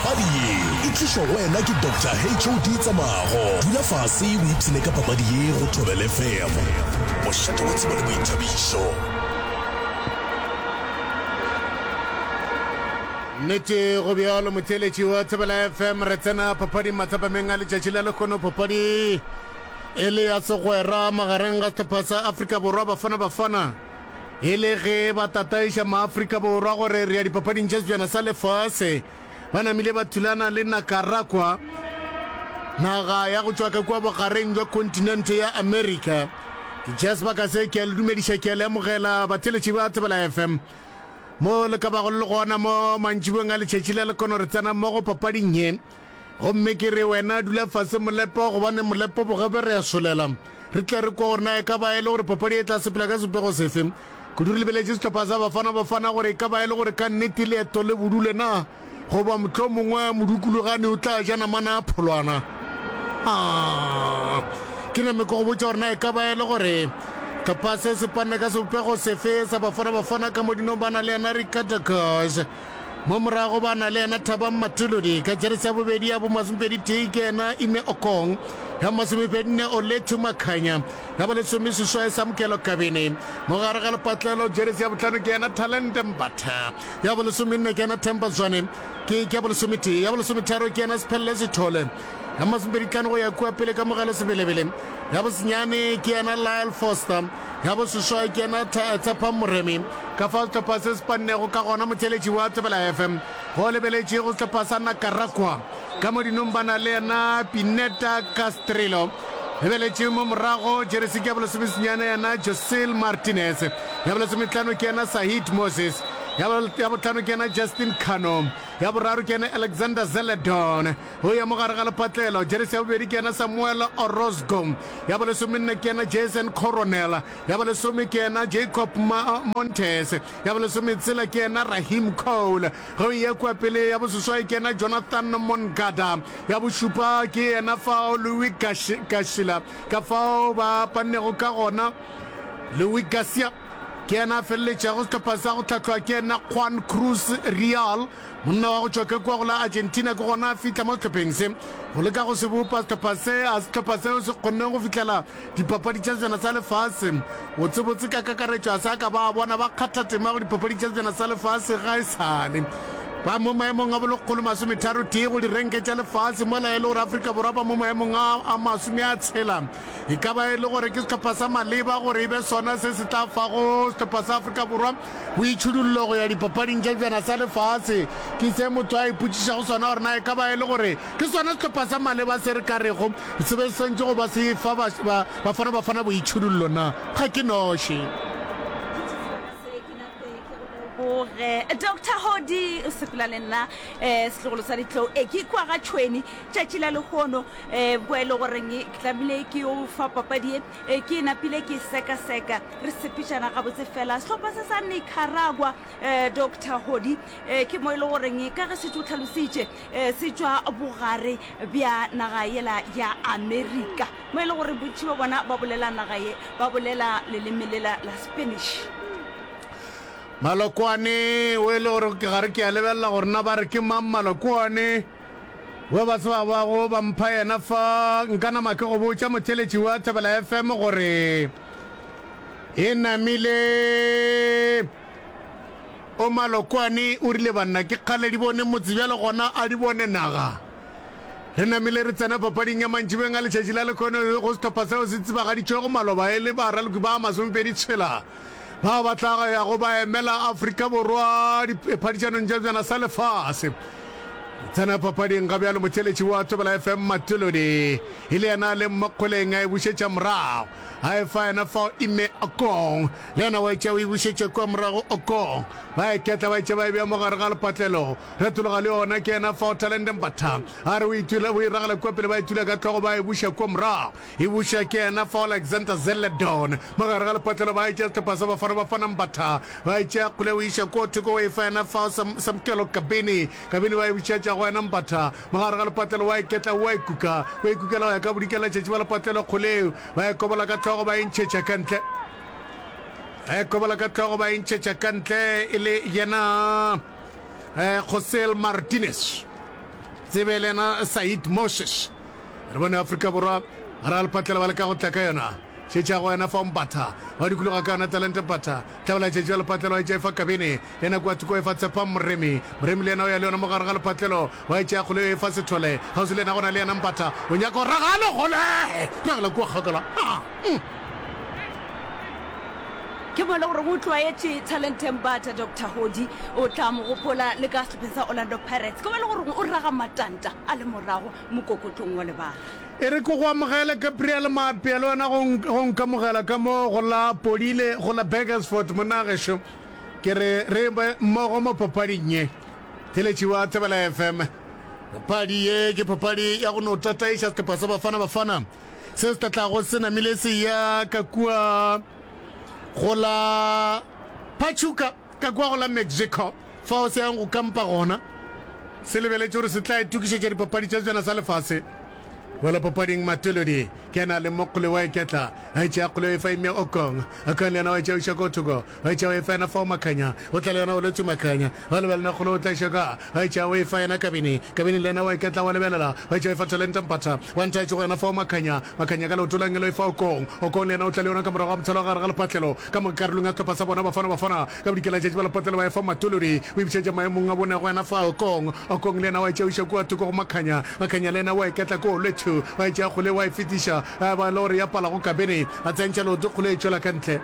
Papadi ye e tlišwa go wena ke Doctor HOD Tsamago. Dula fase o ipshine ka papadi ye go Thobela FM, mošate wa tsebo le boithabišo. Nnete go bjalo motheeletši wa Thobela FM, re tsena papading mathapameng a letšatši la lehono. Papadi e le ya segwera magareng ga sehlopha sa Afrika Borwa Bafana Bafana e le ge ba tataiša maAfrika Borwa gore re ya dipapading tša Sebjana sa Lefase. Ba namile ba thulana le Nakaragua, naga ya go tšwa ka kua bogareng jwa kontinente ya Amerika. Ke tšea sebaka se ke a le dumediša, ke a le amogela batheeletši ba Thobela FM. Mo le ka bago le le gona mo mantšiboeng a letšatši la lekono re tsena mmogo papading ye. Gomme ke re wena dula fase Molepo gobane Molepo bogabe re a solela. Re tle re kwa gore na e ka ba e le gore papadi e tla sepela ka sebopego sefe. Kudu re lebeletše sehlopha sa Bafana Bafana gore e ka ba e le gore ka nnete leeto le bodule na goba mohlomongwe modukulogane o tla ja namana a pholwana. Ah, ke name ke go botša gore na e ka ba e le gore hlopha se se panne ka sebopego sefe sa Bafana Bafana ka mo dinong ba na le yena Ricardo Goss. Mo morago ba na le yena Thabang Matuludi ka jeresi ya bobedi ya bomasomepedi tee ke yena Ime Okong, ya masomepedinne Olethu Makhanya, ya bolesomeseswai Samkelo Kabini. Mo gare ga lepatlelo jeresi ya bohlano ke yena Talente Mbatha, ya bolesomenne ke yena Themba Zwane, ke ke ya bolesometee, ya bolesometharo ke yena Sphelele Sithole, ya masomepeditlhano go ya kua pele Kamogelo Sebelebele, ya bosenyane ke yena Lyle Foster. Ya boseswai ke yena Tshepang Moremi. Ka fao sehlopha se se pannego ka gona motheeletši wa Thobela FM go lebeletše go sehlopha sa Nakaragua. Ka mo dinong ba na le yena Pineta Castrillo. Lebeletše mo morago jeresi ke ya bolesomesenyane yena Josel Martinez. Ya bolesometlhano ke yena Sahid Moses. Ya bohlano ke yena Justin Cano. Ya boraro ke yena Alexander Zeledon. Go ya mo gare ga lepatlelo, jeresi ya bobedi ke yena Samuel Orozco, ya bolesomenne ke yena Jason Coronel, ya bolesome ke yena Jacob Montes, ya bolesometshela ke yena Rahim Cole, ge o eya kua pele ya boseswai ke yena Jonathan Moncada, ya bošupa ke yena fao Louis Garcia. Ka fao ba pannego ka gona, Louis Garcia ke yena a feleletšago sehlopha sa go hlahlwa ke yena Juan Cruz Real. Monna wa go tšwa ka kua go la Argentina ke gona a fihla mo sehlopheng se go leka go se bopa sehlopha se. A sehlopha seo se kgonne go fihlela dipapadi tša sejana sa lefase botsebotse ka kakaretšo a sa ka ba bona ba kgatha tema go dipapadi tša sejana sa lefase ga e sale ba mo maemong a bolekgolo masometharo tee go direnke tša lefase mola e le gore Afrika Borwa ba mo maemong a a masome a tshela. E ka ba e le gore ke sehlopha sa maleba gore e be sona se se tla fago sehlopha sa Afrika Borwa Boitšhidullo go ya dipapading tša Sebjana sa Lefase ke se motho a ipotšišago sona gore na e ka ba e le gore ke sona sehlopha sa maleba se re ka rego se be se swanetše go ba se fa Bafana Bafana boitšhidullo na. Ga ke noši. Leboge Doctor Hodi o sepela le nna um setlogolo sa ditlou e ke kwa ga tšhweni tšatši la lehono um kwa e le goreng ke tlamile ke yo fa papadi e ke e napile ke sekaseka Re sepetšana gabotse fela. Sehlopha se sa Nicaragua, eh, Doctor Hodi, eh, ke mo e le goreng ka ge šetše o tlhalositše, eh, se tšwa bogare bja naga yela ya Amerika, mo e le gore bontši ba bona ba bolela naga ye, ba bolela leleme lela la Spanish. Malokwane o e le gore ke gare ke a lebelela gore na ba re ke mang Malokwane we ba tseba bago ba mpha yena fa nka nama ke go botša motheletši wa Thobela FM gore E namile o Malokwane o rile banna ke kgale di bone motse bjale gona a di bone naga. Re namile re tsena papading ya mantšibeng a letšatši la lekhono go sehlopha seo se tsebagaditšwego maloba e le baraloki ba masomepedi tshela bao ba tla yago ba emela Afrika Borwa diphadišanong tša bjana sa lefase. Tsena papading ga bjalo motheletši wa Thobela FM Matolodi e le yena a leng mo kgoleng a e bušetša morago. A e fa yena fao Ime Okong. Le yena wa e tšea o e bušetša kua morago Okong. Ba e ketla ba e tšea ba e bea mo gare ga lepatlelo. Retologa le yona ke yena fao Talente Mbatha. A re o e tula o e ragela kua pele ba e tula ka hlogo ba e buša kua morago. E buša ke yena fao Alexander Zeledon. Mo gare ga lepatlelo ba e tšea sehlopha sa Bafana Bafana Mbatha. Ba e tšea kgole o e iša kua thoko o e fa yena fao Sam, Samkelo Kabini. Kabini ba e bušetša go yena Mbatha. Mo gare ga lepatlelo wa e ketla o a e kuka. O e kukela go ya ka bodikela tšatši ba lepatlelo kgoleo. Ba e kobola ka hlogo ba e ntšhetša ka ntle. Ba e kobola ka hlogo ba e ntšhetša ka ntle e le yena eh, Josel Martinez. Tsebe le yena Said Moses. Re bone Afrika Borwa gare ga lepatlela ba leka go tla ka yona. Šetša go yena fa Mbatha wa dikologa ka yona Talente Mbatha. Tlabela tšetšo ya lepatlelo wa e tšea e fa Kabene. Le yena kua thoko e fa Tshepang Moremi. Moremi le yena o ya le yona mo gare ga lepatlelo wa e tšea kgole e fa Sethole. Kgauswi le yena go na le yena Mbatha. O nyaka go raga le kgole. Ragela kua kgakala. Ah! Mm. Ke mo e le gore o tlwaetše Talente Mbatha, Doctor Hodi o tla mo gopola le ka sehlopheng sa Orlando Pirates. Ke mo e le gore o raga matanta a le morago mokokotlong wa lebala. E re ke go amogele, Gabriel Maapea, le wena go, go nkamogela ka mo go la Podile, go la Burgersfort, monna gešo. Ke re re be mmogo mo papading ye. Theletši wa Thobela FM. Papadi ye ke papadi ya go no tataiša sehlopha sa Bafana Bafana se se tla tlago se namile se ya ka kua go la Pachuca, ka kua go la Mexico, fao se yang go kampa gona. Se lebeletše gore se tla itokišetša dipapadi tša sejana sa lefase. Boela papading Matolodi ke yena a leng mo kgole wa iketla a etša kgole e fa ime Okong. Okong le yena wa etša iša ko thoko wa etša o e fa yena fao Makhanya o tla le yona o lwetše Makhanya wa lebelela kgole o tla iša ka wa etša o e fa yena Kabini. Kabini le yena wa iketla wa lebelela wa etša o e fa Talenta Mpatha wa ntha etše go yena fao Makhanya. Makhanya ka leoto la ngelo e fa Okong. Okong le yena o tla le yona ka morago ga mothalo wa gare ga lepatlelo ka mo karolong ya sehlopha sa bona Bafana Bafana Ka bodikela tšatši ba lepotlela ba efa Matolodi, o ibišetša maemong a bone go yena fa Okong. Okong le yena wa e tšea o iša kua thoko go Makhanya. Makhanya le yena wa e ketla ko Olwethu, wa e tšea kgole wa e fetiša, ya ba e le gore ya pala go Kabene. A tsentšha leoto kgole e tšwela ka ntle.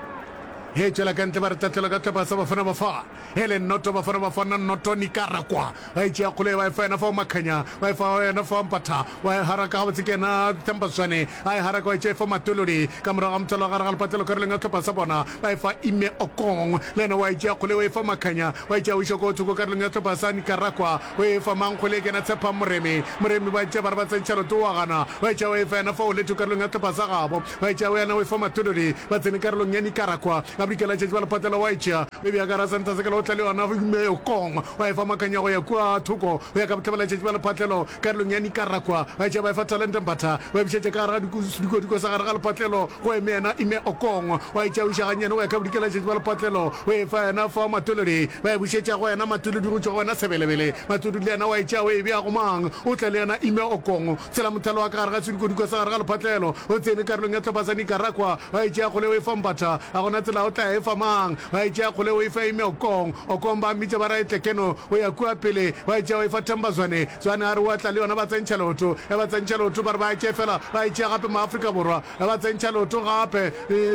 Ge e tšwela ka ntle ba re tahlelo ka hlopha sa Bafana Bafana. E le noto Bafana Bafana noto Nicaragua. Wa e tšea kgole wa e fa yena fao Makhanya, wa e fa yena fao Mpatha, wa e haraka gabotse ke yena Themba Zwane, a e haraka wa e tšea e fa Matolodi, ka morago ga mothalo wa gare ga lepatlelo karolong ya sehlopha sa bona, ba e fa Ime Okong, le yena wa e tšea kgole wa e fa Makhanya, wa e tšea o iša ko thoko karolong ya sehlopha sa Nicaragua, o e fa mang kgole ke yena Tshepang Moremi, Moremi ba e tšea ba re ba tsentšha leoto wa gana, wa e tšea wa e fa yena fao Letho karolong ya sehlopha sa gabo, wa e tšea yena o e fa Matolodi, ba tsene karolong ya Nicaragua, ka bodikela tšatši ba lepatlelo wa e tšea o e bea ka gara santa sekela o tla le yona Ime Okong. Ba efa makanya go ya kua thoko go ya ka bohlabela-tšatši bja lephatlelo karolong ya Nicaragua. Ba etša ba efa Talente Mbatha, ba e bušetša ka gare ga sediko-diko sa gare ga lephatlelo go eme yena Ime Okong. Wa etša o iša gannyane go ya ka bodikela-tšatši bja lephatlelo o efa yena fa Matolodi. Ba e bušetša go yena Matolodi go tšwa go yena Sebelebele. Matolodi le yena wa etša o e bea go mang? O tla le yena Ime Okong. Tshela mothalo wa ka gare ga sediko-diko sa gare ga lephatlelo o tsene karolong ya hlopha sa Nicaragua. Wa etša kgole o efa Mbatha, ga gona tsela o tla efa mang? Ba e tšea kgole o e fa Ime Okong. Okong ba mmitša ba ra etle keno o ya kua pele. Ba e tšea o e fa Themba Zwane. Zwane a re o a tla le yona ba tsentšha leoto. Ge ba tsentšha leoto ba re ba e tšee fela ba e tšea gape Maafrika Borwa. Ge ba tsentšha leoto gape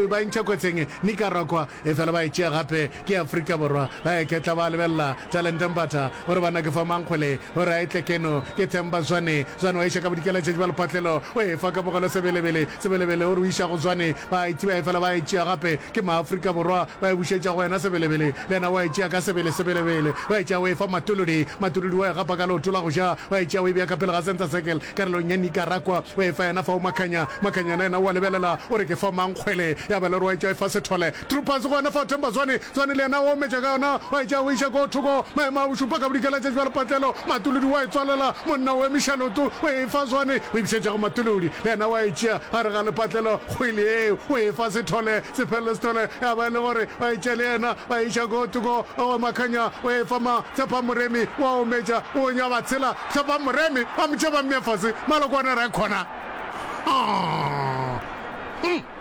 ba e ntšha kotseng Nicaragua. Efela ba e tšea gape ke Afrika Borwa. Ba eketla ba lebelela Talente Mbatha o re banna ke fa mang kgole o re a etle keno ke Themba Zwane. Zwane wa iša ka bodikela tšatši ba lephatlelo o e fa Kamogelo Sebelebele. Sebelebele o re o iša go Zwane ba e tseba efela ba e tšea gape Ke Maafrika Borwa, ba e bušetša go yena Sebelebele, le yena wa e tšea ka sebele Sebelebele, wa e tšea o e fa Matolodi, Matolodi wa e gapa ka leoto la go ja, wa e tšea o e bea ka pele ga Center Circle, karolong ya Nicaragua, o e fa yena fao Makhanya, Makhanya yena o a lebelela, o re ke fa mang kgwele, ya ba le gore wa e tšea o e fa Sethole, Troopers go yena fao Themba Zwane, Zwane le yena o ometša ka yona, wa e tšea o e iša ko thoko, maemo a bošupa ka bodikela tšatši bja lepatlelo, Matolodi wa e tswalela, monna o emiša leoto, o e fa Zwane, o e bušetša go Matolodi, le yena wa e tšea gare ga lepatlelo, Kgwele yeo o e fa Sethole, Sephelelo Sethole ya ba e le gore ba e tšea le yena ba e iša ko thoko go Makhanya, o e fa ma Tshepa Moremi wa ometša o nya ba tshela Tshepa Moremi ba mo tšea ba mmea fase Malokwane re khona.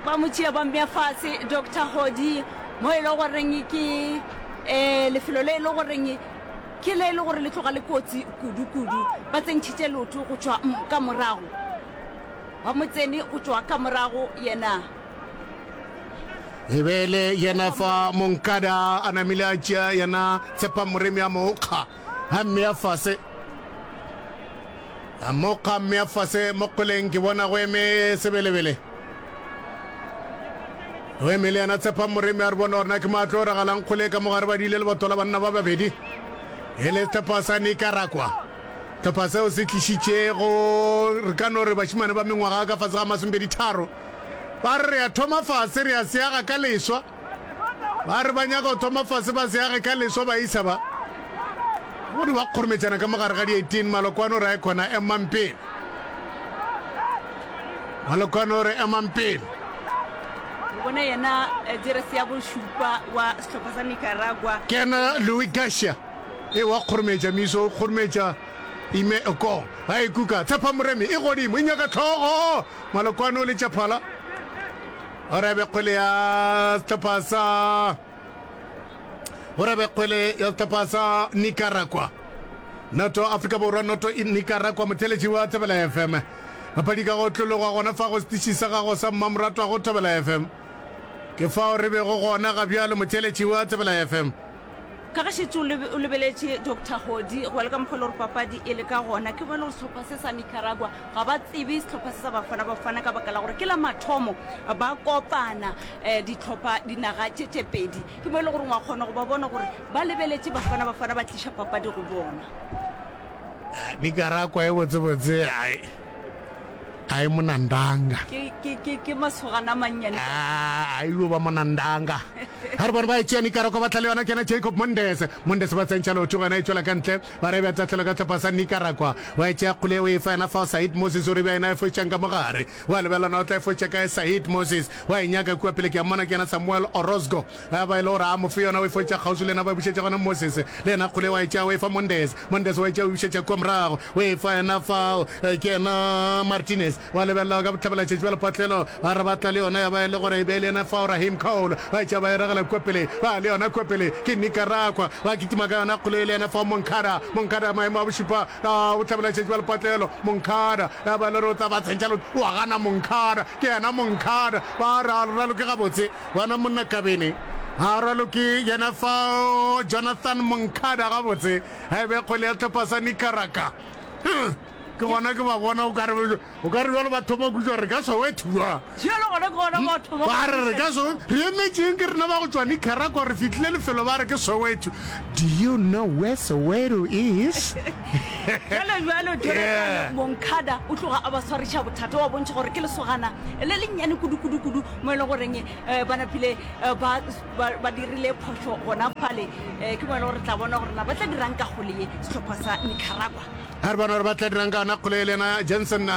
Ba mo tšea ba mmea fase Doctor Hodi mo e le goreng ke um lefelo le e le goreng ke le e le gore le tloga le kotsi kudu-kudu. Ba tsentšhitše leoto go tšwa ka morago. Ba mo tsene go tšwa ka morago yena. E be e le yena fa Monkada a namile a tšea yena Tshepa Moremi a mo kga a mmea fase. A mo kga a mmea fase mo kgoleng ke bona go eme Sebelebele. Go eme le yena Tshepa Moremi a re bona gore na ke mo a tlo ragalang kgole ka mogare ba diile leboto la banna ba babedi. E le sehlopha sa Nicaragua. Hlopha seo se tlišitšego, re ka no re bašemane ba mengwaga ka fase ga masomepeditharo, ba re re ya thoma fase, re ya se aga ka leswa. Ba re ba nyaka go thoma fase ba se age ka leswa baisa ba. Go di ba kgorometšana ka mogare ga di-18, Malokwane o re a e khona emang pele. Malokwane o re emang pele. Re bone yena eh, jeresi ya bošupa wa sehlopha sa Nicaragua. Ke yena Louis Garcia. E wa kgorometša, Miso o kgorometša. Ime Okong ba e kuka. Tshepa Moremi e godimo e nyaka tlhogo. Malokwane o letša phala. Gore a be kgwele ya sehlopha sa gore a be kgwele ya sehlopha sa Nicaragua. Noto Afrika Borwa noto Nicaragua motheletši wa Thobela FM. Papadi ka go tlologwa gona fa go setiši sa gago sa mmamoratwa go Thobela FM. Ke fao re bego gona ga bjalo motheletši wa Thobela FM. Ka ge šetše o lebeletše Doctor Hodi, go ya le ka mokgwa e le gore papadi e le ka gona, ke bone gore sehlopha se sa Nicaragua ga ba tsebe sehlopha se sa Bafana Bafana ka baka la gore ke la mathomo ba kopana um dihlopha dinaga tše tše pedi. Ke mo e le gore wa kgona go ba bona gore ba lebeletše Bafana Bafana ba tliša papadi go bona. Nicaragua e botsebotse ai. A e monandanga. Ke, ke, ke, ke masogana a mannyane. A, a ilo ba monandanga. Ga re bone ba e tšea Nicaragua ba tla le yona ke yena Jacob Mondes. Mondes ba tsentšha leoto gona e tšwela ka ntle. Ba re bja tahlelo ka hlopha sa Nicaragua. Wa e tšea kgole o e fa yena fao Said Moses o re bja yena e fošang ka mogare. Wa lebelela na o tla e foša kae Said Moses. Wa e nyaka kua pele ke a mmona ke yena Samuel Orozco. Ba ba e le gore a mo fe yona o e fošetša kgauswi le yena ba e bušetša gona Moses. Le yena kgole wa e tšea o e fa Mondes. Mondes wa e tšea o e bušetša kua morago o e fa yena fao ke yena Martinez. Wa lebelela ka bohlabelatšatši bja lepatlelo ba re ba tla le yona ya ba e le gore e be e le yena fao Rahim Cole. Ba e tšea ba e ragela kua pele ba le yona kua pele ke Nicaragua. Ba kitima ka yona kgole e le yena fao Moncada. Moncada maemo a bošupa ka bohlabelatšatši bja lepatlelo. Moncada ya ba e le gore o tla ba tsentšha leoto wa gana Moncada ke yena Moncada. Ba re a raloke gabotse. Bona monna Kabene a raloke yena fao Jonathan Moncada gabotse a e be kgwele ya hlopha sa Nicaragua. Ke gona ke ba bona o ka re o ka re jalo ba thoma kutšwa re ka Soweto jwa. Jalo gona ke gona ba thoma. Ba re re ka so re emetšeng ke rena ba go tšwa Nicaragua re fihlile lefelo ba re ke Soweto. Do you know where Soweto is? Jalo jalo Jonathan Moncada o tloga a ba swariša bothata wa bontšha gore ke lesogana le lennyane kudu kudu kudu mo e le goreng um ba napile eh, ba, ba, ba dirile phošo gona fale um ke mo e le gore tla bona gore na ba tla dirang ka kgole ye sehlopha sa Nicaragua. A re bona gore ba tla dirang ka yona kgole le yena Jensen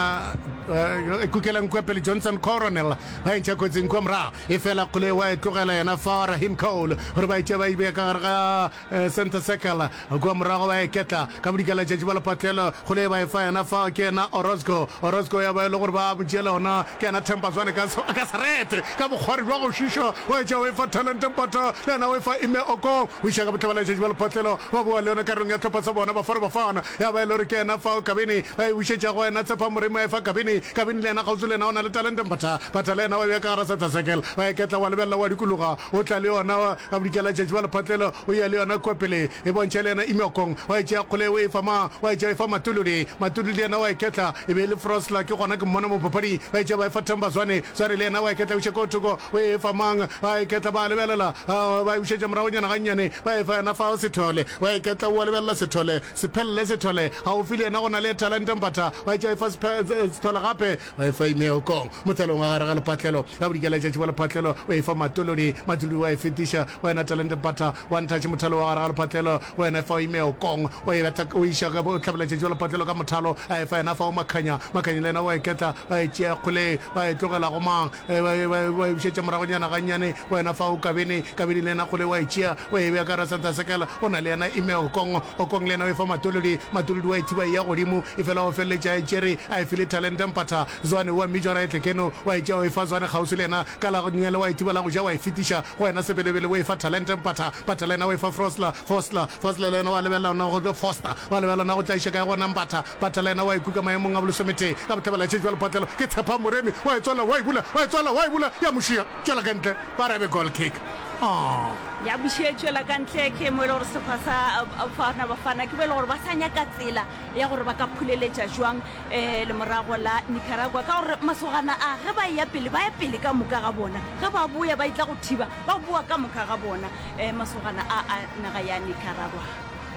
e kukelang kua pele Johnson Coronel ba e ntšha kotsing kua morago e fela kgole wa e tlogela yena fa Rahim Cole gore ba e tšea ba e bea ka gare ga Center circle kua morago ba eketla ka bodikela tšatši ba lepatlelo kgole ba efa yena fa ke yena Orozco. Orozco ya ba e le gore ba mo tšeela ona ke yena Themba Zwane ka ka serete ka bokgwari bja go šiša wa etša o efa Talente Mpata le yena o efa Ime Okong o iša ka bohlabela tšatši ba lepatlelo ba boa le yona karolong ya hlopha sa bona Bafana Bafana ya ba e le gore ke yena fao Kabini ba e bušetša go yena Tshepa Moremi a efa Kabini Kabini le yena kgauswi le yena o na le Talente Mpata Mpata le yena wa bea ka gara center circle ba eketla wa lebelela wa dikologa o tla le yona Ka bodikela tšatši ba lephatlelo o ya le yona kua pele, e bontšha le yena Imyokong. Wa e tšea kgole o e fa mang? Wa e tšea o e fa Matuludi. Matuludi le yena wa e ketla. E be e le Frosler, ke gona ke mmona mo papading. Ba e tšea ba e fa Themba Zwane. Zwane le yena wa e ketla e buša ko thoko. O e fa mang? Ba e ketla ba lebelela. Ba e bušetša moragonyana gannyane. Ba e fa yena fao Sethole. Wa e ketla o a lebelela Sethole. Sephelele Sethole. Gaufi le yena go na le Talente Mpatha. Wa e tšea e fa Sethole gape. Ba e fa Imeokong, mothalong wa gare ga lephatlelo. Ka bodikela letšatši wa lephatlelo, o e fa Matolodi. Matolodi wa e fetiša go yena Talente Mpatha. Wa nthatše mothalo wa gare ga lephatlelo, go yena fao Imeokong. O e betha, o iša ka bohlabela-tšatši wa lephatlelo ka mothalo, a e fa yena fao Makhanya. Makhanya le yena wa e ketla, ba e tšea kgole, ba e tlogela go mang? Ba e, ba e, ba e bušetša moragonyana gannyane go yena fao Kabini. Kabini le yena kgole wa e tšea, o e bea ka gare center circle. O na le yena Imeokong. Okong le yena o e fa Matolodi. Matolodi wa e thiba e ya godimo, efela o feleletša a e tšere, a e file Talente Mpatha. Zwane o a mmitša gore a etle keno, wa e tšea o e fa Zwane kgauswi le yena ka la go nngele, wa e thiba la go ja wa e fetiša go yena Sebelebele, o e fa Talente Mpatha. Mpatha le yena o e fa Frosler, Fostler, Fostler le yena wa lebelela ona go, Foster, wa lebelela ona go tla iša kae gona Mpatha. Mpatha le yena wa e kuka maemong a bolesometee ka bohlabela tše bjalo Phatlelo ke Tshepa Moremi wa e tswala wa e bula, wa e tswala wa e bula ya mo šia tšwela ka ntle ba re be goal kick. Aww. Ya buše tšwela ka ntle ke mo e le gore sehlopha sa Bafana Bafana ke mo e le gore ba sa nyaka tsela ya gore ba ka phuleletša jwang um lemorago la Nicaragua ka gore masogana a ge ba eya pele ba ya pele ka moka ga bona ge ba boya ba etla go thiba ba boa ka moka ga bona um masogana a a naga ya Nicaragua.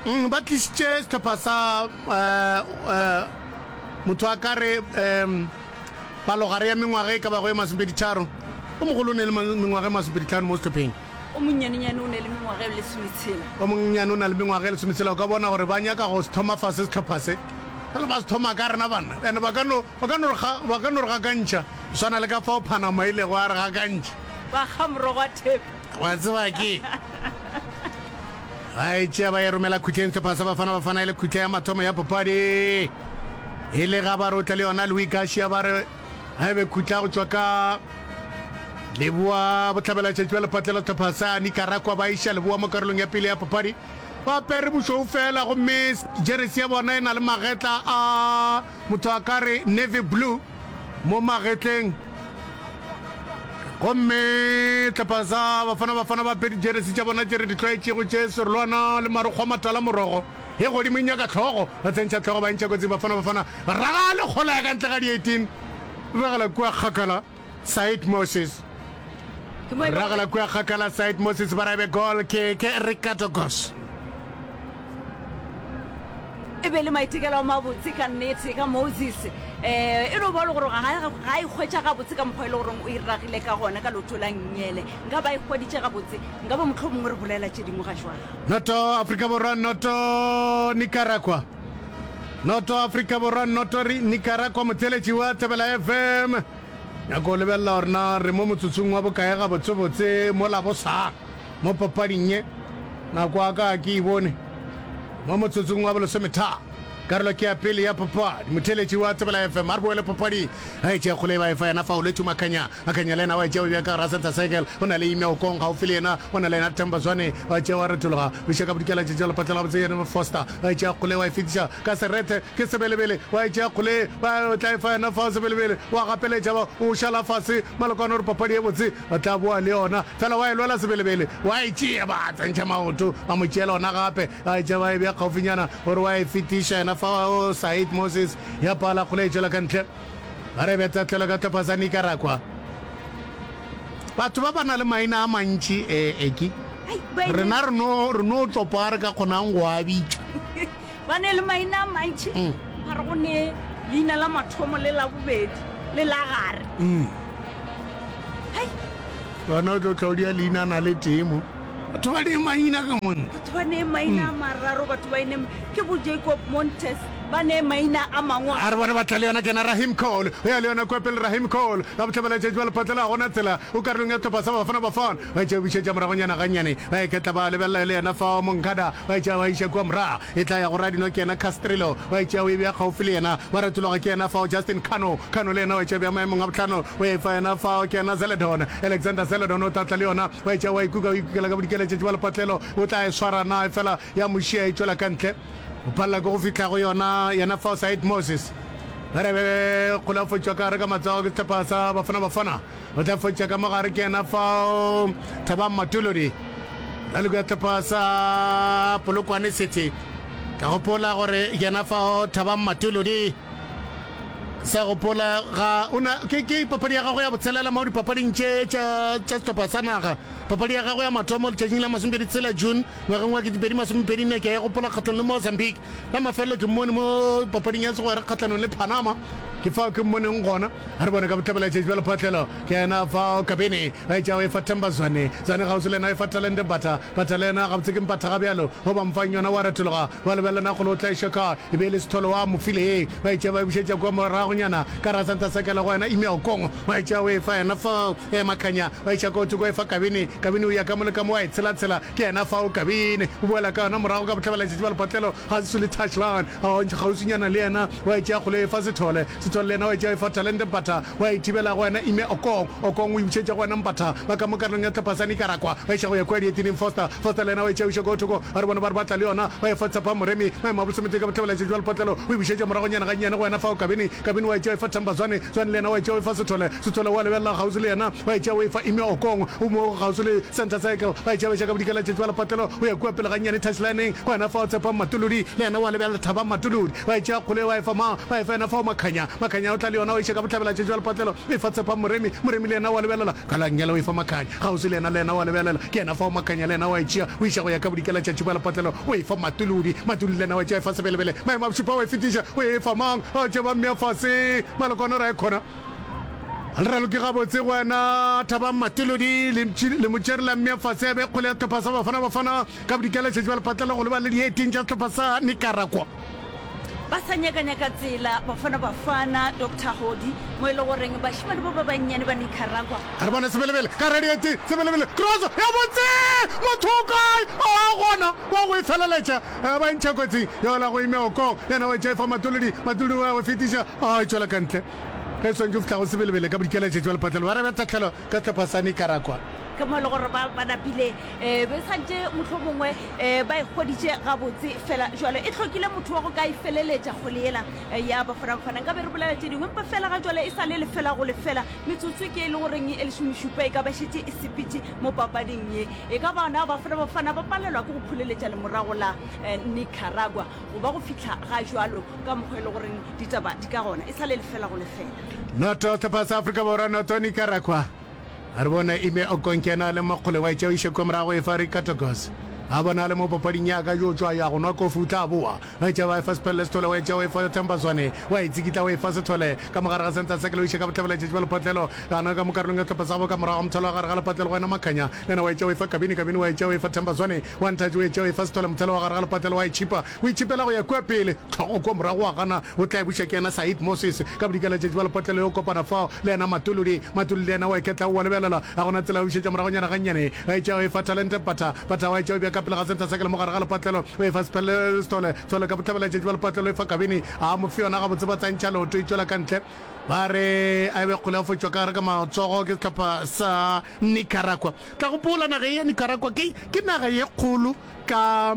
Mm, ba tlišitše sehlopha sa uh, uh, motho a ka re um palogare ya mengwaga e ka bago e masomepeditharo. O mogolo o ne le mengwaga e masomepeditlhano mo sehlopheng. O monnyanenyane o ne le mengwaga e lesometshela. O monnyane o na le mengwaga e lesometshela. O ka bona gore ba nyaka go se thoma fase sehlopha se. Jale ba se thoma ka rena banna. And ba ka no, ba ka no re ga, ba ka no re gakantšha. Go swana le ka fao Panama e ilego ya re gakantšha. Ba kga morogo wa thepe. Wa tseba ke. Ba e tšea ba e romela khutleng sehlopha sa Bafana Bafana e le khutla ya mathomo ya papadi. E le ga ba re o tla le yona Louis Garcia ba re ga e be khutla go tšwa ka leboa bohlabela tšatši ba lepatlela sehlopha sa Nicaragua ba iša leboa mo karolong ya pele ya papadi. Ba apere bošweu fela gomme jeresi ya bona e na le magetla a motho a ka re navy blue mo magetleng. Gomme hlopha sa Bafana Bafana ba apere dijeresi tša bona tše re di tlwaetšego tše serolwana le marokgo a matala morogo e godimo e nyaka hlogo ba tsentšha hlogo ba ntšha kotsi Bafana Bafana raga le kgola ya ka ntle ga di 18 ragela kua kgakala Said Moses ragela kua kgakala Said Moses ba rabe goal ke ke Ricardo Goss. E be le maitekelo a mabotse ka nnete ka Moses. Um e no ba le gore ga ga e hwetša gabotse ka mokgwa e le goreng o e ragile ka gona ka leoto la nngele. Nka ba e hweditše gabotse, nka ba mohlomongwe re bolela tše dingwe ga jwale. Noto Afrika Borwa noto Nicaragua. Noto Afrika Borwa noto Nicaragua motheeletši wa Thobela FM. Nyako lebelela gore na re mo motsotsong wa bokae gabotsebotse mola bosa. Mo papading ye, nako ya ka ga ke e bone. Mo motsotsong wa bolesometharo, karolo ke ya pele ya papadi. Motheeletši wa Thobela FM a re boele papading. A e tšea kgole e ba e fa yena Faolwethu Makhanya. Makhanya le yena wa e tšea o bea ka gara center circle. O na le Ime Okong gaufi le yena. O na le yena Themba Zwane. Wa tšea wa retologa. O iša ka bodikela tšatši la lepatla la gabotse yena Foster. Wa e tšea kgole wa e fetiša ka serethe ke Sebelebele. Wa e tšea kgole ba tla e fa yena fao Sebelebele. Wa gapeletša ba o šala fase. Malokwane o re papadi e botse. Ba tla boa le yona. Fela wa e lwela Sebelebele, wa e tšea, ba tsentšha maoto, ba mo tšeela ona gape, ba e tšea ba e bea kgaufinyana gore wa e fetiša yena fa o Said Moses ya pala kgole e tšwela ka ntle. Ba re bea tahlelo ka hlopha sa Nicaragua. Batho ba ba na le maina a mantši e eki. Rena re no re no tlopa a re ka kgonang go a bitša. Ba ne le maina a mantši, ba re go ne leina la mathomo le la bobedi le la gare. Hai. Wena o tlo tla o dia leina na le tee mo. Batho ba ne maina ka monna. Batho ba ne maina a mararo, batho ba ne ke bo Jacob Montes, ba ne maina a mangwe. A re bone ba tla le yona kena Rahim Cole. O ya le yona kua pele Rahim Cole. Ka bohlabela tšatši ba lepatlela ga gona tsela. O karolong ya sehlopha sa Bafana Bafana. Ba tšea bušetša moragonyana gannyane. Ba iketla ba lebelela le yena fao Moncada. Ba e tšea ba iša kua morago. E tla ya go radino ke yena Castrillo. Ba e tšea o e bea kgaufsi le yena. Ba retologa ke yena fao Justin Cano. Cano le yena wa e tšea bea maemong a bohlano. O e fa yena fao ke yena Zeledon. Alexander Zeledon o tla tla le yona. Ba e tšea wa e kuka o e kukela ka bodikeletšetši ba lepatlelo. O tla e swara na efela ya mo šia e tšwela ka ntle. O palela ke go fihla go yona yena fao Said Moses. Ba re be kgole a fotšwa ka gare ka matsogo ke sehlopha sa Bafana Bafana. O tla fotša ka mogare ke yena fao Thabang Matolodi. Raloko ya tlhopha sa Polokwane City. Ka gopola gore yena fao Thabang Matolodi. Sa gopola ga o na ke ke papadi ya gagwe ya botshelela mo dipapading tše tša tša sehlopha sa naga. Papadi ya gagwe ya mathomo letšatšing la 26 June ngwageng wa 2024 ke a e gopola kgahlong le Mozambique. La mafelelo ke mmone mo papading ya segwera kgahlanong le Panama. Ke fao ke mmoneng gona. A re bone ka bohlabela tšatši bja lephatlelo. Ke yena fao Kabini. Ba etša o efa Themba Zwane. Zwane kgauswi le yena o efa Talente Mbatha. Mbatha le yena gabotse ke Mpatha gabjalo. Go ba mfang yona wa retologa. Wa lebelela na kgole o tla iša kae. E be e le Sithole wa mo file ye. Ba etša ba e bušetša kua moragonyana. Ka ra Santa Sakela go yena Ime Okong. Ba etša o efa yena fao Makhanya. Ba iša ko thoko o efa Kabini. Kabini o ya ka mo le ka mo wa e tshelatshela. Ke yena fao Kabini. O boela ka yona morago ka bohlabela tšatši bja lepatlelo. Kgauswi le touchline. Kgauswinyana le yena wa e tšea kgole e fa Sethole. Sethole le yena wa e tšea e fa Talente Mpatha. Wa e thibela go wena Ime Okong. Okong o e bušetša go wena Mpatha. Ba ka mo karolong ya hlopha sa Nicaragua. Ba iša go ya kua dietineng Foster. Foster le yena wa e tšea o iša ko thoko. Ba re bona ba re ba tla le yona. Ba e fa Tshepa Moremi. Maemo a bolesometee ka bohlabela tšatši bja lepatlelo. O e bušetša moragonyana gannyane go wena fao Kabini. Kabini wa e tšea o e fa Themba Zwane. Zwane le yena wa e tšea o e fa Sethole. Sethole wa lebelela kgauswi le yena. Wa e tšea o e fa Ime Okong. O mo kgauswi le center circle. Ba e tšea ba iša ka bodikela tšatši bja lepatlelo. O ya kua pele gannyane touchlineng. Go yena fao Tshepang Matolodi. Le yena wa lebelela Thabang Matolodi. Ba e tšea kgole wa e fa mang? Ba e fa yena fao Makhanya. Makhanya o tla le yona wa iša ka bohlabela tšatši bja lepatlelo. O e fa Tshepang Moremi. Moremi le yena wa lebelela ka la nngele o e fa Makhanya. Kgauswi le yena le yena wa lebelela. Ke yena fao Makhanya le yena wa e tšea o iša go ya ka bodikela tšatši bja lepatlelo. O e fa Matolodi. Matolodi le yena wa e tšea e fa Sebelebele. Maemo a bošupa wa e fetiša o e fa mang? A tšea ba mmea fase. Malokwane o re a e khona. Le raloke gabotse go wena Thabang Matolodi le mo tšere la mmea fase a be kgole ya sehlopha sa Bafana Bafana ka bodikela tšatši bja lepatlelo go leba le dieting tša sehlopha sa Nicaragua. Ba sa nyakanyaka tsela Bafana Bafana, Doctor Hodi, mo e le goreng bašemane ba ba bannyane ba Nicaragua. A re bone Sebelebele ka radiate, Sebelebele, cross ya botse! Motho o kae? A gona wa go e feleletša. Ba e ntšha kotsing yola go Ime Okong, yena wa e tšea e fa Matolodi, Matolodi wa e fetiša, a e tšwela ka ntle. Ge e swantše go fihla go Sebelebele ka bodikela tšatši wa lepatlelo, ba rebe tahlelo ka sehlopha sa Nicaragua. Ke mo e le gore ba ba napile um be santše mohlomongwe um ba e hweditše gabotse fela jwale e hlokile motho wa go ka e feleletša kgole yela ya Bafana Bafana. Nkabe re bolela tše dingwe empa fela ga jwale e sa le lefela go lefela. Metsotso ke e le goreng e lesomešupa e ka ba šetše e sepetše mo papading ye. E ka ba na Bafana Bafana ba palelwa ke go phuleletša lemorago la Nicaragua go ba go fihla ga jwalo ka mokgwa e le goreng ditaba di ka gona e sa le lefela go lefela. Noto sehlopha sa Afrika Borwa noto Nicaragua. A re bona Ime Okonkena le Makgole wa etša o iše kwa morago e fa Ricardo Goss. A bona le mo papading ya ka yo tšwa ya go nwa kofi o tla boa. Wa etša wa efa Siphelele Sithole wa etša wa efa Themba Zwane wa e tsikitla wa efa Sithole ka mogare ga center circle o iše ka bohlabela letšatši ba lepatlelo gana ka mo karolong ya sehlopha sa gabo ka morago ga mothalo wa gare ga lepatlelo go ena Makhanya le yena wa etša wa efa Kabini Kabini wa etša wa efa Themba Zwane wa nthatše o etša wa efa Sithole mothalo wa gare ga lepatlelo wa e tšhipa O itšhipela go ya kua pele, hlogo kua morago wa gana, o tla e buša ke yena Said Moses. Ka bodikela letšatši ba lepotlelo yo kopana fao le yena Matuludi. Matuludi le yena wa iketla o wa lebelela, ga gona tsela o bušetša moragonyana gannyane. Wa etša o efa Talente Mpatha, Mpatha wa etša o bea ka pele ga center circle mo gare ga lepotlelo, o efa Sphele Sithole, Sithole ka bohlabela letšatši ba lepotlelo o efa Kabini, a mo fe yona gabotse ba tsantšha leoto e tšwela ka ntle. Ba re a e be kgole ya fotšwa ka gare ka matsogo ke sehlopha sa Nicaragua. Tla gopola naga ye ya Nicaragua ke ke naga ye kgolo ka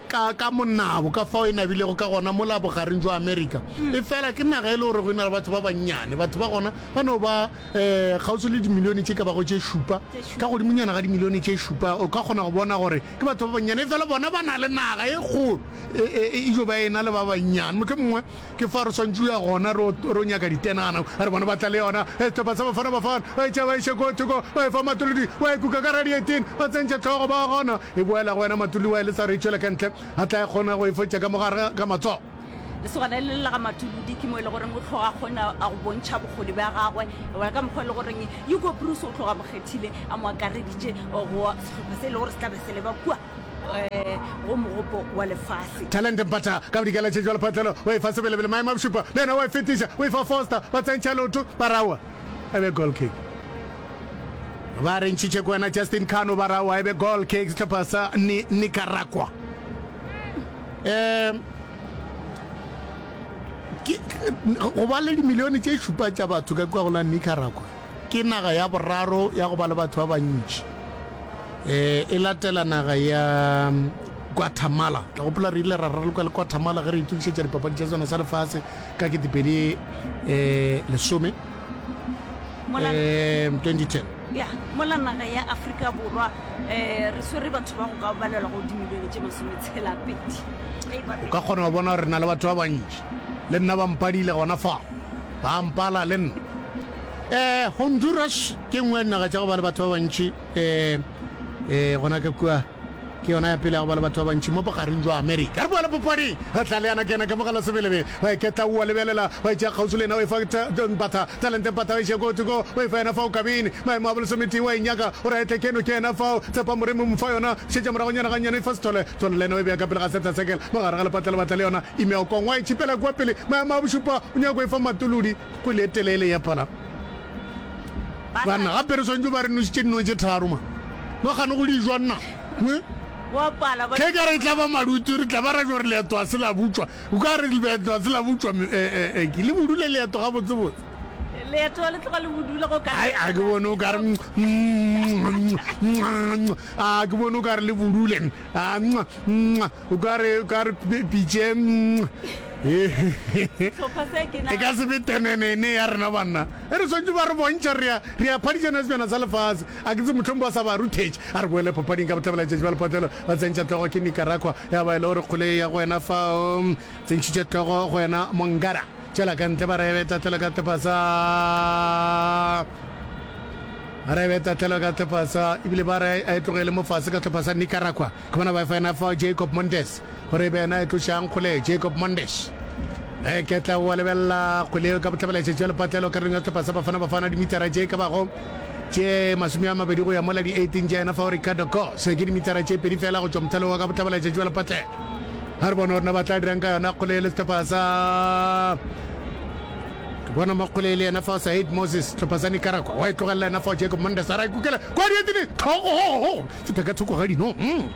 ka, ka monabo, ka fao e nabilego ka gona mola bogareng jwa Amerika. Efela ke naga e le gore go na le batho ba bannyane. Batho ba gona ba no ba um kgauswi le dimilione tše ka bago tše šupa, ka godimonyana ga dimilione tše šupa. O ka kgona go bona gore ke batho ba bannyane, efela bona ba na le naga e kgolo, e, e, e jo ba e na le ba bannyane. Mohlomongwe ke fa re swantše go ya gona re o nyaka ditenana, a re bona ba tla le yona. Sehlopha sa Bafana Bafana ba e tšea ba iše ko thoko, ba e fa Matolodi, wa e kuka ka radiating, ba tsentšha hlogo, ba gona. E boela go wena Matolodi wa e lesa gore e tšwele ka ntle, a tla e kgona go e fotša ka mo gare ga matsogo. Lesogana le la ga Matolodi ke mo e le goreng o tloga a kgona a go bontšha bokgoni bja gagwe, gona ka mokgwa e le goreng Hugo Broos o tloga a mo kgethile, a mo akareditše go sehlopha se e le gore se tla be se leba kua go mogopo wa lefase. Talente Mpatha ka bodikela tšhetšo wa lephatlelo o e fa Sebelebele maemo a bošupa le yena wa e fetiša o e fa Foster ba tsentšha leoto ba rawa e be goal kick ba re ntšhitše ko wena Justin Kano ba rawa e be goal kick sehlopha sa Ni Nicaragua um ke go ba le dimilione tše šupa tša batho ka kua go la Nicaragua. Ke naga ya boraro ya go ba le batho ba bantši. E, e latela naga ya Guatemala. Tla gopola re ile ra raloka le Guatemala ge re itokišetša dipapadi tša sona sa lefase ka ketepedi e, lesome Mola, e, 2010. ya, mola naga ya Afrika Borwa eh, re swere batho ba go ka balelwa go dimilione tše masometshela-pedi. Ge e ba O ka kgona go bona gore re na le batho ba bantši. Le nna ba mpadile gona fa. Ba mpala le nna. Eh, Honduras ke nngwe ya dinaga tša go ba le batho ba bantši eh, eh, gona ka kua ke yona ya pele ya go ba le batho ba bantši mo bogareng jwa Amerika. Re boela popading, re tla le yana ke yena ka mogala sebelebe, wa iketla oa lebelela, wa itšea kgauswi le yena, wa e fa Mpatha, Talente Mpatha wa iša ko thoko, wa e fa yena fao Kabini, maemo a bolesometee wa e nyaka gore a etle keno ke yena fao, Tshepa Moremi o mo fa yona, šetša moragonyana gannyane e fa Sethole, Sethole le yena o e bea ka pele ga center circle, mo gare ga lepatla lebatla le yona, Imeokong wa e tšhipela kua pele, maemo a bošupa o nyako e fa Matolodi. Kwele e telele ya phala. Banna gape re swantse ba re nositše dino tše tharo ma. Ba gane go di jwa nna. Ke ka re tla ba maluti re tla ba ra gore leeto a se la butšwa. O ka re leeto a se la butšwa eh eh ke le budule leeto ga botse botse. Leeto le tloga le budule go ka. Ai a ke bone o ka re a ke bone o ka re le budule. A o ka re o ka re pitše e ka se be tenenene ya rena banna e re swantse ba re bontšha re ya re ya phadišana sebjana sa lefase a ke tse mohlomong ba sa ba ruthetše a re boele papading ka bohlabela letšatši ba lepatlelo ba tsentšha tlogo ke nicaragua ya ba e le gore kgole ya go wena fao tsentšhitše tlogo go wena mongara tšwela ka ntle ba re be tahlelo ka sehlopha sa ba re be tahlelo ka sehlopha sa ebile ba re a e tlogele mo fase ka sehlopha sa nicaragua Ke bona ba efa yena fao Jacob Mondes gore e be yena e tlošang kgole. Jacob Mondes e ke tla wa lebelela kgwele eo ka bohlabela tšatši ya lepatlelo karolong ya sehlopha sa Bafana Bafana dimitara tše ka bago tše 20 go ya mola di 18 tša yena fao Ricardo Goss ke dimitara tše pedi fela go tšwa mothalo wa ka bohlabela tšatši wa lepatlelo. A re bone gore na ba tla dirang ka yona kgole le sehlopha sa ke bona makgole le yena fa Said Moses sehlopha sa Nicaragua wa e tlogelela yena fa Jacob Mondes a ra ikukela kwa dietini tlhogo feta ka thoko ga dino mm.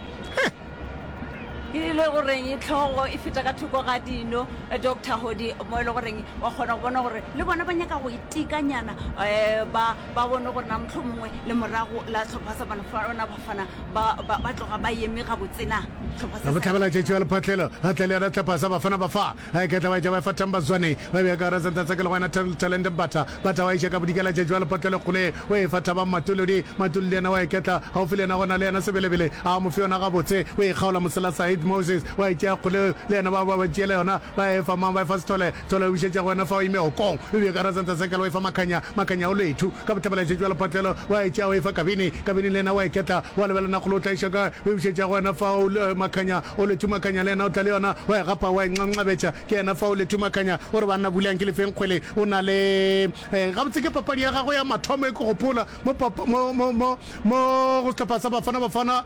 E le goreng tlhogo e feta ka thoko ga dino Doctor Hodi mo e le goreng wa kgona go bona gore le bona ba nyaka go itekanyana um ba ba bone gore na mohlomongwe le morago la hlopha sa Bafana Bafana ba ba ba tloga ba eme gabotse na hlopha se sa Bohlabela tšetši wa lephatlelo a tle le yona hlopha sa Bafana Bafa a iketla ba etša ba efa Themba Zwane ba bea ka gare sentha sa ke le go yena Talente Mbatha Mbatha wa iša ka bodikela tšetši wa lephatlelo kgole o efa Thabang Matolodi Matolodi yena wa iketla gaufi le yena gona le yena Sebelebele a mo fe yona gabotse o e kgaola mosela Said Moses wa e tšea kgole le yena ba ba ba tšeela yona ba efa mang ba efa Sithole Thole o bušetša go wena fao ime okong o bea ka rasanta sekela o efa Makhanya Makhanya o lethu ka bohlabela tšetši wa lephatlelo wa e tšea o efa Kabini Kabini le yena wa e ketla wa lebelela nakgolo o tla iša kae o e bušetša go wena fao Makhanya o lethu Makhanya le yena o tla le yona wa e gapa wa e nxanxabetša ke yena fao lethu Makhanya o re banna bulang ke lefeng kgwele o na le gabotse ke papadi ya gagwe ya mathomo e ke gopola mo mo mo mo mo go sehlopha sa Bafana Bafana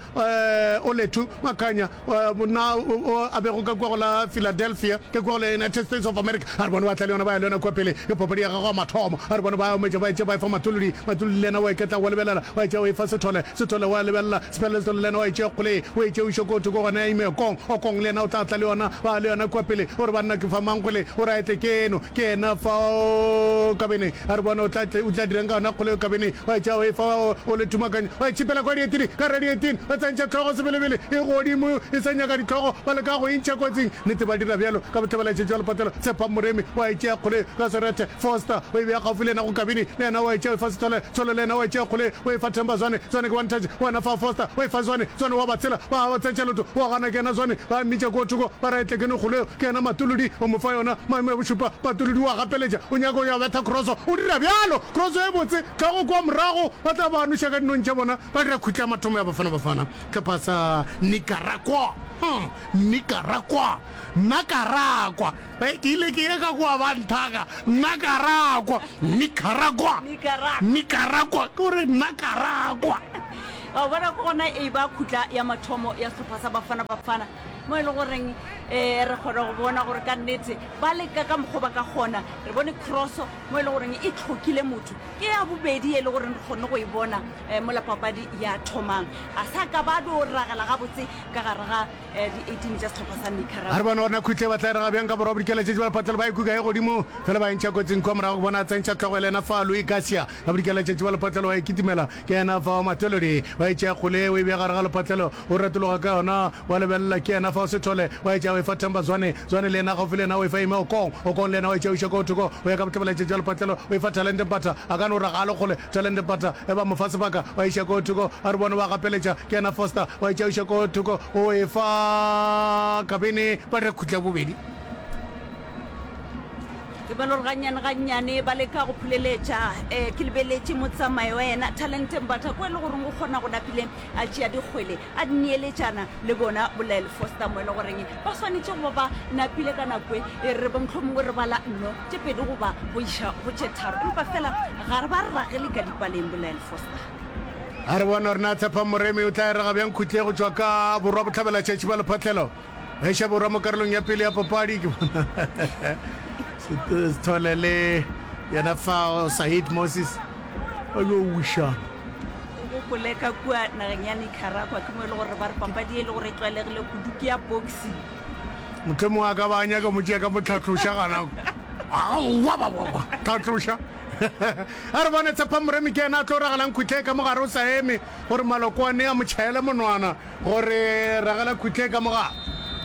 Olwethu Makhanya monna o a bego ka kua go la Philadelphia ka kua go la United States of America a re bone ba tla le yona ba ya le yona kua pele ke papadi ya gagwe ya mathomo a re bone ba ometša ba etše ba efa Matolodi Matolodi le yena wa iketla wa lebelela wa etša o efa Sethole Sethole wa lebelela Sephelele Sethole le yena wa etšea kgole o etše o iše ko thoko gona ya ime Okong Okong le yena o tla tla le yona ba le yona kua pele o re banna ke fa mang kgole o re a etle keno Ke yena fao Kabene a re bona o tla o tla dirang ka yona kgolego Kabene wa etša o efa o le thumakanya wa itšhipela kwa dietini ka radietini ba tsentšha tlhogo sebelebele e godimo e sa nyaka ditlhogo ba leka go e ntšha kotsing nnete ba dira bjalo ka bohlabela tšetši wa lepatelo Tshepang Moremi wa etšea kgolego ka serethe Foster o e bea gaufi le yena go Kabini le yena wa etšea o efa Sethole Thole le yena wa etšea kgolego o efa Themba Zwane Zwane ke one touch wena fa Foster o efa Zwane Zwane wa ba tshela ba tsentšha leoto wa gana ke yena Zwane ba mmitša ko thoko ba ra etle ke no kgolego Ke yena Matolodi, o mo fa yona. Maemo ya bošupa, Matolodi o a gapeletša, o nyaka go ya betha kroso. O dira bjalo! Kroso e botse, tlhogo kua morago, ba tla ba noša ka dinong tša bona, ba dira khutla ya mathomo ya Bafana Bafana. Hlopha sa Nicaragua, huh, Nicaragua, Nakaragua. Ke ile ke ye ka kua ba nthaka, Nakaragua, Nicaragua, Nicaragua, ke gore Nakaragua. Wa bona ke gona e ba khutla ya mathomo ya sehlopha sa Bafana Bafana. Mo e le goreng um re kgona go bona gore ka nnete ba leka ka mokgwa ba ka kgona. Re bone crosso mo e le goreng e tlhokile motho. Ke ya bobedi e le goreng re kgonne go e bona um mola papadi ya thomang. A sa ka ba do ragela gabotse ka gare ga um di-18 tša sehlopha sa Nicaragua. A re bone gore na khutle ba tla e raga bjang ka borwa bodikela tšetše ba lepatlelo ba e kuka e godimo fela ba e ntšha kotsing kua morago ke bona a tsentšha hlogo e le yena fa Louis Garcia ka bodikela tšetše ba lepatlelo wa e kitimela ke yena fa Matolodi wa e tšea kgole o e bea gare ga lepatlelo O retologa ka yona, wa lebelela, ke yena fao Sethole, wa etša o efa Themba Zwane, Zwane le yena gaufi le yena o efa Ime Okong, Okong le yena wa etša o iša ko thoko, o ya ka bohlabela-tšetši bja lepatlelo, o efa Talente Mpatha, a ka no ra ga a le kgole, Talente Mpatha, e ba mo fa sebaka, wa iša ko thoko, a re bone wa gapeletša, ke yena Foster, wa etša o iša ko thoko, o efa Kabini, ba dira khutla bobedi. Ke bona gore gannyane gannyane ba leka go phuleletša. Um ke lebeletše motsamayo wa yena Talente Mbatha ko e le goreng o kgona go napile a tšea dikgwele a di neeletšana le bona boLyle Foster mo e le goreng ba swanetše go ba ba napile ka nako e e re bo mohlomongwe re bala nno tše pedi goba go iša go tše tharo empa fela ga re ba ragele ka dipaleng boLyle Foster. A re bone gore na Tshepang Moremi o tla e raga bjang khutle go tšwa ka borwa bohlabela tšatši ba lephatlelo. Eša Borwa mo karolong ya pele ya papadi ke bona Sithole le yena fao Said Moses ba yo wišana. O gopole ka kua nageng ya Nicaragua ke mo e le gore ba re papadi e le gore e tlwaelegile kudu ke ya boxing. Mohlomongwe a ka ba a nyaka mo tšea ka motlhatloša gana aowa tlhatloša a re bone Tshepa Moremi ke yena a tlo ragalang khutle ka mogare o sa eme gore malokwane a mo tšhaele monwana. Gore ragela khutle ka moga.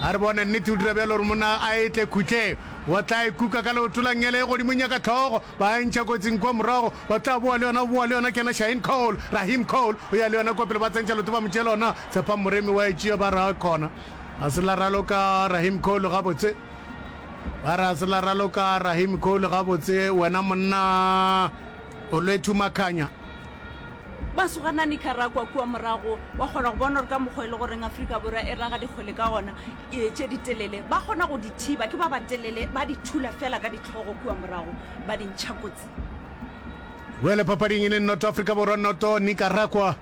A re bone nnete o dira bjalo gore monna a etle khutle. Wa tla e kuka ka leoto la nngele e godimo nyaka tlhogo. Ba e ntšha kotsing kua morago. Ba tla boa le yona, o boa le yona ke yena Shaheen Cole. Rahim Cole o ya le yona kua pele ba tsentšha leoto ba mo tšeela yona. Tshepang Moremi wa e tšea ba re khona. Ga se la raloka Rahim Cole gabotse. Ba re ga se la raloka Rahim Cole gabotse wena monna Olwethu Makhanya. Ba sogana Nicaragua kua morago, wa kgona go bona gore ka mokgwa e le goreng Afrika Borwa e raga dikgwele ka gona, e, tše ditelele, ba kgona go di thiba, ke ba batelele, ba di thula feela ka dihlogo kua morago, ba di ntšha kotsi. Bjale papading e le noto Afrika Borwa noto Nicaragua.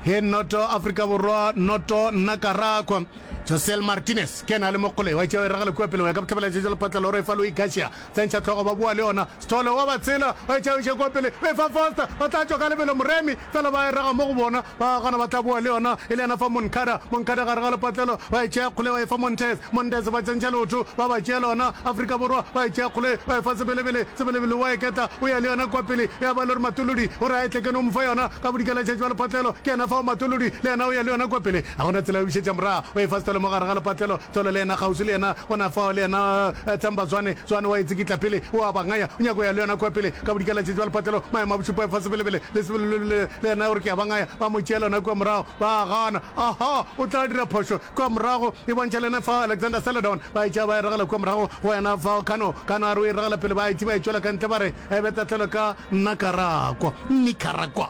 He noto Afrika Borwa noto Nacaragua. Josel Martinez ke yena a le mo kgole wa tšea e ragela kua pele go ya ka bohlabela tšetša lephatla la gore e fa Louis Garcia. Tsentšha hlogo ba boa le yona. Sithole wa ba tshela wa e tšea o iša kua pele o e fa Foster ba tla tšwa ka lebelo Moremi fela ba e raga mo go bona ba gana ba tla boa le yona e le yena fa Moncada Moncada gare ga lepatlelo ba e tšea kgole ba e fa Montes Montes ba tsentšha leoto ba ba tšea lona Afrika Borwa ba e tšea kgole ba e fa Sebelebele Sebelebele wa e ketla o ya le yona kua pele ya ba le gore Matolodi o re a e tle ke no mo fa yona ka bodikela tšatši ba lepatlelo ke yena fao Matolodi le yena o ya le yona kua pele ga gona tsela ya go bušetša morago o e fa Sithole mo gare ga lepatlelo Sithole le yena kgauswi le yena gona fao le yena Themba Zwane Zwane wa e tsikitla pele o a ba ngaya o nyaka go ya le yona kua pele ka bodikela tšatši ba lepatlelo maemo a bošupa e fa Sebelebele le Sebelebele le yena o re ke a ba ngaya ba mo tšeela yona kua morago ba gana aha o tla dira phošo kua morago e bontšha le yena fao Alexander Celedon ba e tšea ba e ragela kua morago go yena fao Kano Kano a re o e ragela pele ba e tšea ba e tšwela ka ntle ba re e be tahlelo ka Nakarakwa Nicaragua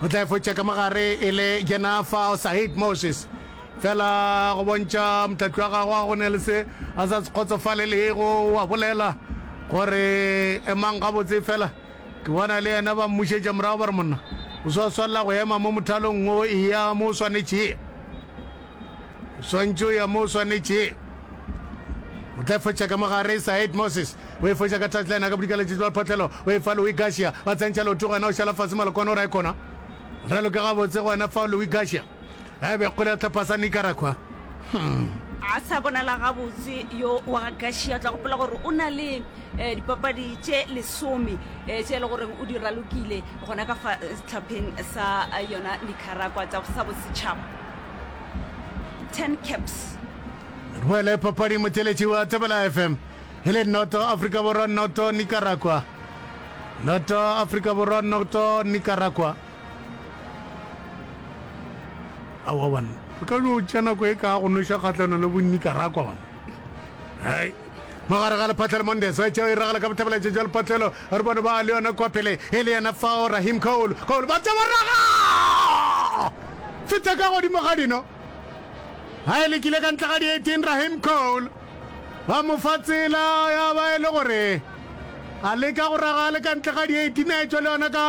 o tla e fotša ka mogare e le yena fao Said Moses fela go bontšha motlatli wa gagwe a go ne le se a sa se kgotsofalelego wa bolela gore emang gabotse fela ke bona le yena ba mmušetša morago ba re monna o sa swanela go ema mo mothalong o eya mo o swanetšego o swantše o ya mo o swanetšego o tla fotša ka mogare Said Moses o e fotša ka touchline ka bodikaletšetši ba photlelo o e fa Louis Garcia ba tsentšha leoto gona o šala fase malokwane o ra e kona raloke gabotse gona fa Louis Garcia a be kgole ya tlhopha sa Nicaragua hmm. A sa bonala gabotse yo wa ga Garcia o tla gopola gore o na le eh, dipapadi tše lesome eh, tše e le goreng o di ralokile gona ka fa eh, setlhopheng sa yona Nicaragua tsa sa bosetšhaba 10 caps. Re boele papading motheletši wa Thobela FM e le noto Afrika Borwa noto Nicaragua noto Afrika Borwa noto Nicaragua aowa banna re ka no tšea nako e ka go noša kgahlano le bo Nicaragua banna hai mogare ga lephatlelo Mondes wa tšeo e ragala ka bohlabela jwa lephatlelo re bone ba le yona kwa pele e le yena fao Rahim Cole Cole ba tšea raga feta ka godimo ga dino Ga e lekile ka ntle ga di-18 Rahim Cole ba mo fa tsela ya ba e le gore a leka go raga le ka ntle ga di-18 a etšwa le yona ka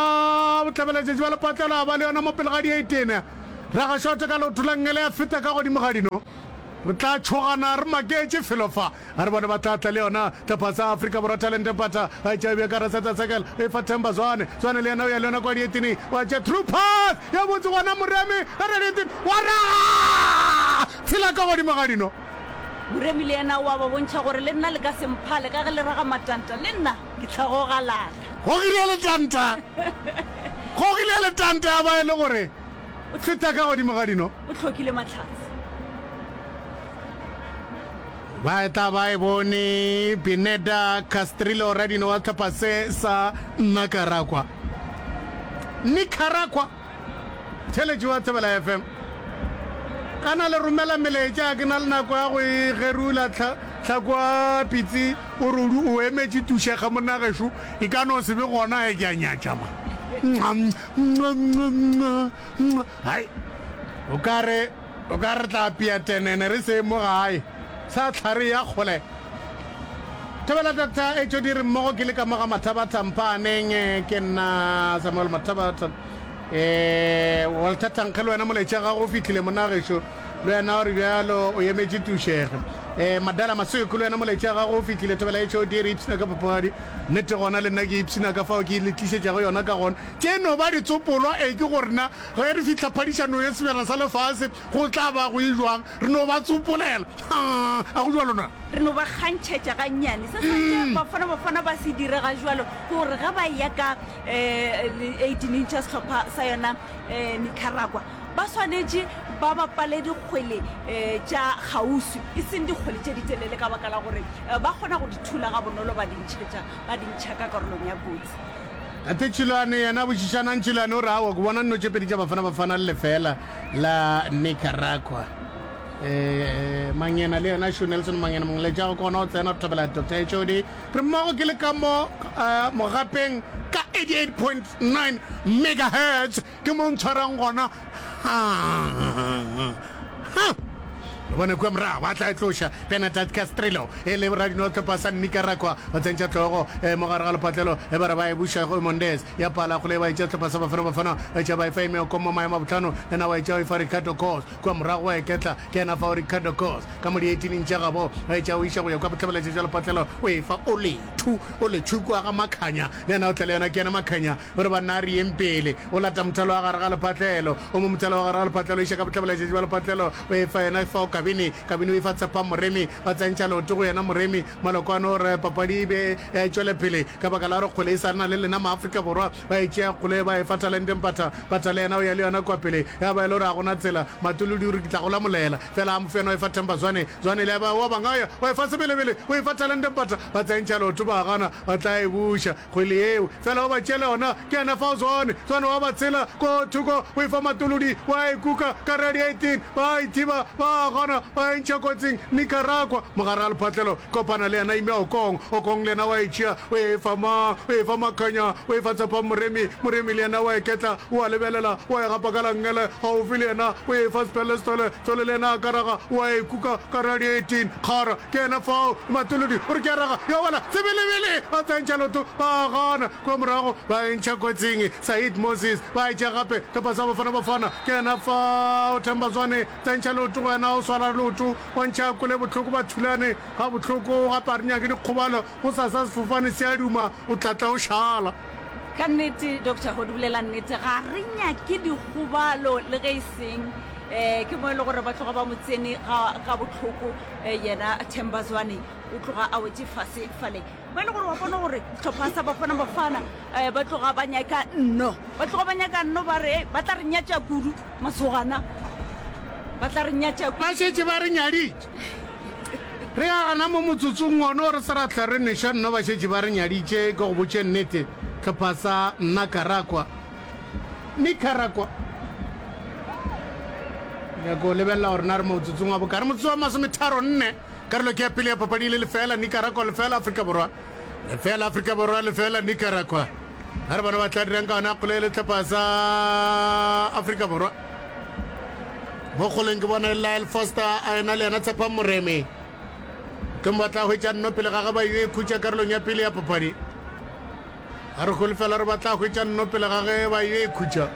bohlabelatšatši ba lepatlelo a ba le yona mo pele ga di-18 raga shot ka leoto la nngele ya feta ka godimo ga dino re tla tšhogana re maketše felo fa A re bone ba tla tla le yona hlopha sa Afrika Borwa Talente Mpatha a e tšea bja ka Raseta Circle e fa Themba Zwane Zwane le yena o ya le yona kwa dietini wa tšea through pass ya botse gona Moremi a re dietini wa raga tshela ka godimo ga dino. Moremi le yena o a ba bontšha gore le nna le ka se mphale ka ge le raga matanta le nna ke tla go galala. Gogile letanta gogile letanta ya ba e le gore feta ka godimo ga dino. O hlokile mahlatse. Ba tla ba e bone Pineda Castrillo radino wa sehlopha se sa Nicaragua. Nicaragua. Theletši wa Thobela FM. Kana le romela melaetša ke na le nako ya go e gerula tlhako pitsi o re o emetše tušega monna gešo e ka no se be gona e ke a nyatša ma. Hai. O ka re O ka re tla apea tenene re se mo gae. Sa tlhare ya kgole. Thobela Doctor HOD re mmogo ke le ka mo ga Mathabatha Mphaaneng ke nna Samuel Mathabatha. Eh Walter Thankge le wena molaetša gago o fihlile monna gešo le wena o re bjalo o emetše tušege. Eh Madala Maseko le wena molaetša gago o fihlile Thobela HOD re ipshina ka papadi. Nnete gona le nna ke ipshina ka fao ke le tlišetšago yona ka gona. Tše no ba ditsopolwa e ke gore na Ge re fihla phadišanong ya Sebjana sa Lefase, go tla ba go e jwang? Re no ba tsopolela. Ha, a go jwalo na? Re no ba kgantšhetša gannyane. Se santše Bafana Bafana ba se dire ga jwalo ke gore ge ba eya ka um 18 tša sehlopha sa yona um Nicaragua, ba swanetše ba bapale dikgwele um tša kgauswi, e seng dikgwele tše ditelele ka baka la gore ba kgona go di thula gabonolo ba di ntšhetša, ba di ntšha ka karolong ya kotsi. Tate Tšhilwane yena botšišanang Tšhilwane o re aowa ke bona nno tše pedi tša Bafana Bafana le lefeela la Nicaragua. Eh, Mangena le yena Shu Nelson Mangena mongletša go kona o tsena re thobela Dr. HOD re mmogo ke le ka mo uh, mogapeng ka 88.9 megahertz ke mo ntshwarang gona ha. Re bone kua morago ba tla e tloša. Benadad Castrillo e le radino hlopha sa Nicaragua o tsentšha hlogo e mo gare ga lepatlelo e ba re ba e buša go Mondez ya pala kgole ba e tšea hlopha sa Bafana Bafana ba etša ba e fa Emeoko mo maemo a bohlano yena wa e tšea o e fa Ricardo Kos kua morago wa e ketla ke yena fao Ricardo Kos ka mo dieitineng tša gabo ba e tšea o iša go ya kua bohlabeletša jwa lepatlelo o e fa Olethu Olethu kua ga Makhanya le yena o tla le yona ke yena Makhanya O re, Banna, a re yeng pele. O lata mothalo wa gare ga lephatlelo. O mo mothalo wa gare ga lephatlelo, o iša ka bohlabela-letšatši bja lephatlelo. O e fa yena fao Kabini. Kabini o e fa Tshepang Moremi. Ba tsentšha leoto go yena Moremi. Malokwane o re, Papadi e be e tšwele pele ka baka la gore kgwele e sa na le lena Maafrika Borwa. Ba e tšea kgwele ba e fa Talente Mpatha. Mpatha le yena o ya le yona kua pele. Ya ba e le gore ga go na tsela. Matolodi o re, Ke tla go lamolela. Fela a mo fe yena o e fa Themba Zwane. Zwane le ya ba wa bangaya. O e fa Sebelebele. O e fa Talente Mpatha. Ba tsentšha leoto ba gana. Ba tla e buša. Kgwele yeo, fela o ba tšeela yona, ke yena fao Zwane, Zwane wa ba tshela ko thoko, o e fa Matolodi, wa e kuka ka radiating, ba ithiba, ba gana, ba e ntšha kotsing, Nicaragua, mogare ga lephatlelo, kopana le yena Ime Okong, Okong le yena wa e tšea, o e fa mang, o e fa Makhanya, o e fa Tshepang Moremi, Moremi le yena wa e ketla, o a lebelela, wa e gapa ka la nngele, gaufi le yena, o e fa Sphele Sithole, Sithole le yena a ka raga, wa e kuka ka radiating, kgara. Ke yena fao, Matolodi o re ke a raga, ya wela sebelebele, ba tsentšha loto, ba gana, kua morago ba e ntšha kotsing, Said Moses, ba e tšea gape, hlopha sa Bafana Bafana, ke yena fao, Themba Zwane, tsentšha leoto go yena, o swara leoto, wa ntšha kwele bohloko, ba thulane ga bohloko, gape a re nyake dikgobalo, gosasa sefofane se a duma, o tla tla o šala. Ka nnete, Doctor Hodi bolela nnete, ga re nyake dikgobalo le ge e seng, um ke mo e le gore ba tloga ba mo tsene ga, ga bohloko. Yena Themba Zwane o tloga a wetše fase fale ba e le gore wa bona gore sehlopha sa Bafana Bafana um ba tloga ba nyaka nno, ba tloga ba nyaka nno, ba re ba tla re nyatša kudu masogana, ba tla re nyatša kudu. Ba šetše ba re nyaditše. Re ya gana mo motsotsong wono re se ra hlwa re nweša nno, ba šetše ba re nyaditše. Ke go botše nnete, hlopha sa Nicaragua, Nicaragua. Nyako lebelela gore na re motsotsong wa bokare, motsotso wa masometharo nne. Karolo ke ya pele ya papadi e le lefela Nicaragua lefela Afrika Borwa lefela Afrika Borwa lefela Nicaragua. A re bona ba tla dirang ka yona kgole e le tlhopha sa Afrika Borwa. Mo kgoleng ke bona e Lyle Foster a ena le yena Tshepang Moremi. Ke mo ba tla hwetša nno pele ga ge ba yo e khutša karolong ya pele ya papadi. A re holofela gore ba tla hwetša nno pele ga ge ba yo e khutša.